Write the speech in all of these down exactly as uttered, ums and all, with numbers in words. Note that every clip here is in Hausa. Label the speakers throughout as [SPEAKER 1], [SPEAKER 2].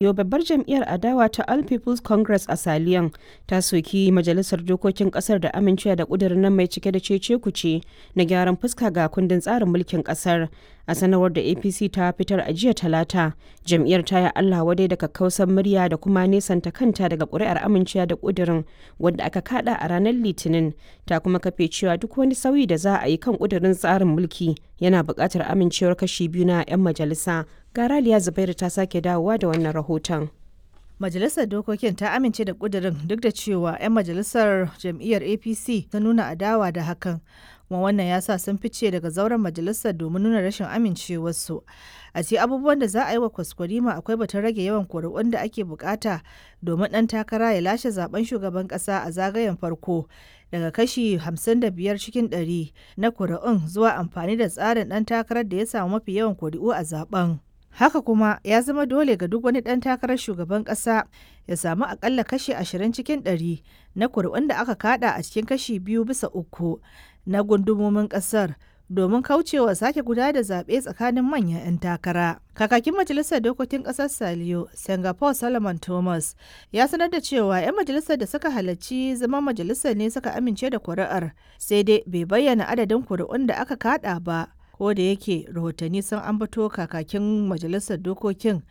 [SPEAKER 1] Yau babbar jam'iyyar adawa ta All People's Congress a Saliyo ta soki Majalisar Dokokin Kasar da amincewa da ƙudurin nan mai cike da cece-kuce na gyaran fuska ga kundin tsarin mulkin kasar. A sanarwar da A P C ta fitar a jiya Talata, jam'iyyar ta yi Allah wadai da kakkausar murya da kuma nesanta kanta daga ƙuri'ar amincewa da ƙudurin wanda aka kada a ranar Litinin. Ta kuma kafe cewa duk wani sauyi da za a yi kan ƙudurin tsarin mulki yana buƙatar amincewar kashi biyu na 'yan majalisa. Ga Raliya Zubairu ta sake dawowa da wannan rahoton.
[SPEAKER 2] Majalisar Dokokin ta amince da ƙudurin duk da cewa 'yan majalisar jam'iyyar A P C ta nuna adawa da hakan. Kuma wannan ya sa sun fice daga zauren majalisar domin nuna rashin amincewarsu. A cikin abubuwan da za a yi wa kwaskwarima akwai batun rage yawan kuri'un da ake bukata domin ɗan takara ya lashe zaben shugaban ƙasa a zagayen farko daga kashi hamsin da biyar cikin ɗari na kuri'un zuwa amfani da tsarin ɗan takarar da ya samu mafi yawan kuri'u a zaben. Haka kuma ya zama dole ga duk wani ɗan takarar shugaban ƙasa ya samu akalla kashi ashirin cikin ɗari na kuri'un da aka kada a cikin kashi biyu bisa uku na gundumomin ƙasar domin kaucewa sake gudanar da zaɓe tsakanin manyan 'yan takara. Kakakin Majalisar Dokokin Ƙasar Saliyo, Singapore Solomon Thomas, ya sanar da cewa 'yan majalisar da suka halarci zaman majalisar ne suka amince da kuri'ar, sai dai bai bayyana adadin kuri'un da aka kada ba. Ko da yake rahotanni sun ambato kakakin majalisar dokokin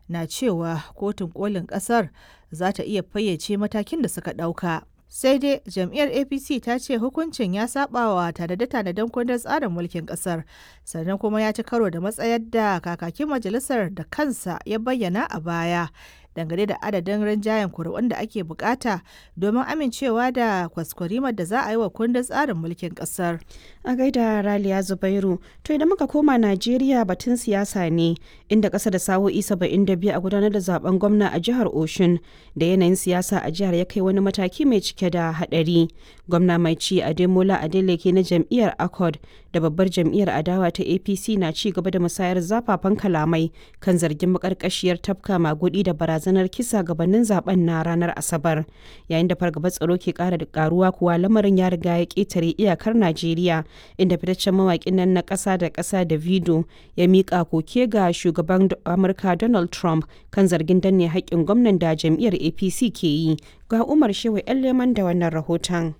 [SPEAKER 2] na cewa kotun kolin kasar za ta iya fayyace matakin da suka dauka. Sai dai jam'iyyar A P C ta ce hukuncin ya sabawa tanade-tanaden kundin tsarin mulkin kasar, sannan kuma ya ci karo da matsayar da kakakin majalisar da kansa ya bayyana a baya dangane da adadin rinjayen kuri'un da ake bukata domin amincewa da kwaskwarimar da za a yi wa kundin tsarin mulkin kasar.
[SPEAKER 1] A gaida Raliya Zubairu, to idan muka koma Najeriya, batun siyasa ne, inda ƙasa da sa'o'i saba'in da biyu a gudanar da zaben gwamna a jihar Oshun da yanayin siyasa a jihar ya kai wani mataki mai cike da haɗari. Gwamna mai ci Ademola Adeleke na jam'iyyar Accord da babbar jam'iyyar adawa ta A P C na ci gaba da musayar zafafan kalamai kan zargin makarkashiyar tafka magudi da barazanar kisa gabanin zaben na ranar Asabar. Yayin da fargabar tsaro ke kara da karuwa kuwa, lamarin ya riga ya ketare iyakar Najeriya, inda fitaccen mawakin nan na ƙasa da ƙasa Davido ya miƙa koke ga shugaban Amurka Donald Trump kan zargin danne haƙƙin gwamnan da jam'iyyar A P C ke yi. Ga Umar Shehu 'Yan Leman da wannan rahoton.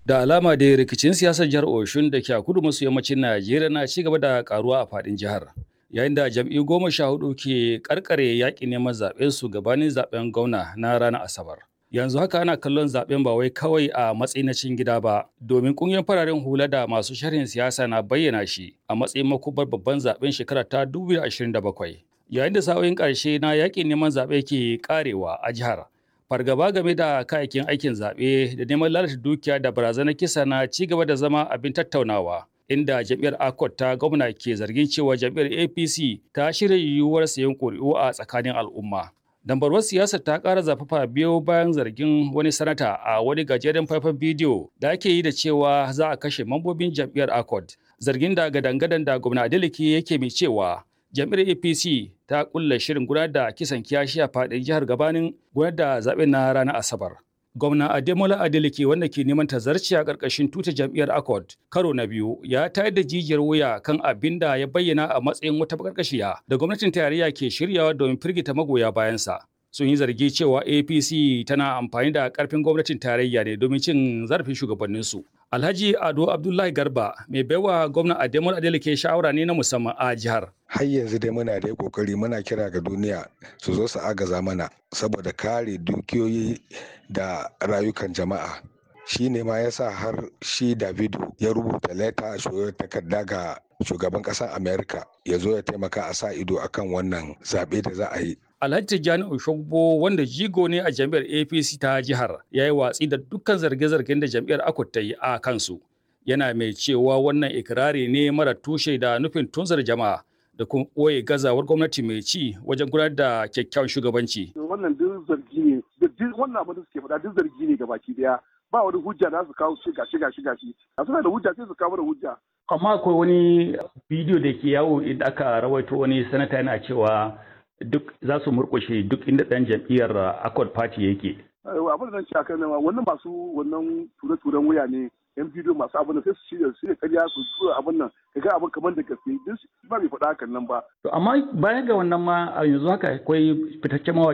[SPEAKER 3] Da alama da rikicin siyasar jihar Oshun da ke a kudu maso yammacin Najeriya na ci gaba da karuwa a faɗin jihar, yayin da jam'iyyu goma sha hudu ke karkare yaƙi neman zaɓen su gabanin zaɓen gwamna na ranar Asabar. Yanzu haka ana kallon zaɓen ba wai kawai a matsayin na cikin gida ba, domin ƙungiyar fararen hula da masu sharhin siyasa na bayyana shi a matsayin makubar babban zaɓen shekara ta dubu biyu da ashirin da bakwai. Yayin da sa'o'in ƙarshe na yaƙin neman zaɓe ke ƙarewa a jihar, fargaba game da kayayyakin aikin zaɓe da neman lalata dukiya da barazanar kisa na ci gaba da zama abin tattaunawa, inda jam'iyyar Accord ta gwamna ke zargin cewa jam'iyyar A P C ta shirya yiwuwar sayan ƙuri'u a tsakanin al'umma. Dambarwar siyasar ta ƙara zafafa biyo bayan zargin wani sanata a wani gajeren faifan bidiyo da ake yi da cewa za a kashe mambobin jam'iyyar Accord, zargin da gadangadan da gwamna Adeleke yake mai cewa jam'iyyar A P C ta kulla shirin gudanar da kisan kiyashi a faɗin jihar gabanin gudanar da zaɓen na ranar Asabar. Gwamna Ademola Adeleke, wanda ke neman tazarci a ƙarƙashin tuta jam'iyyar Accord karo na biyu, ya tayar da jijiyar wuya kan abin da ya bayyana a matsayin wata bakarkashiya da gwamnatin tarayya ke shiryawa domin firgita magoya bayansa. Sun yi zargi cewa A P C tana amfani da ƙarfin gwamnatin tarayya ne domin cin zarafin shugabanninsu. Alhaji Ado Abdullahi Garba mai baiwa gwamna Ademola Adeleke shawara ne na musamman a jihar.
[SPEAKER 4] Har yanzu dai muna da kokari, muna kira ga duniya su zo su agaza mana saboda kare dukiyoyi da rayukan jama'a. Shi ne ma yasa har shi Davido ya rubuta leta a takarda ga shugaban ƙasar America ya zo ya taimaka a sa ido akan wannan zaɓe da za a yi.
[SPEAKER 3] Alhaji Tijjani Oshogbo, wanda jigo ne a jam'iyyar A P C ta jihar, ya yi watsi da dukkan zarge-zargen da jam'iyyar Accord ta yi a kansu. Yana mai cewa wannan ikirari ne mara tushe da nufin tunzar jama'a da kuma ɓoye gazawar gwamnati mai ci wajen gudanar da kyakkyawan shugabanci.
[SPEAKER 5] Wannan duk zargi ne, duk wannan abin da suke faɗa duk zargi ne gabaki daya. Ba wani hujja da su kawo shi gashi gashi gashi. A suna da hujja, sai su kawo da hujja.
[SPEAKER 6] Amma akwai wani bidiyo da ke yawo inda aka rawaito wani sanata yana cewa duk za su murƙushe duk inda ɗan jam'iyyar Accord Party yake.
[SPEAKER 5] Abin da zan ce akan nan, wannan masu wannan ture-turen wuya ne. Yan bidiyo masu abin nan sai su shirya su shirya ƙarya su tura abin nan kaga abin kamar da gaske, duk ba bai faɗa hakan nan ba.
[SPEAKER 6] To amma bayan ga wannan ma, a yanzu haka akwai fitaccen mawaƙi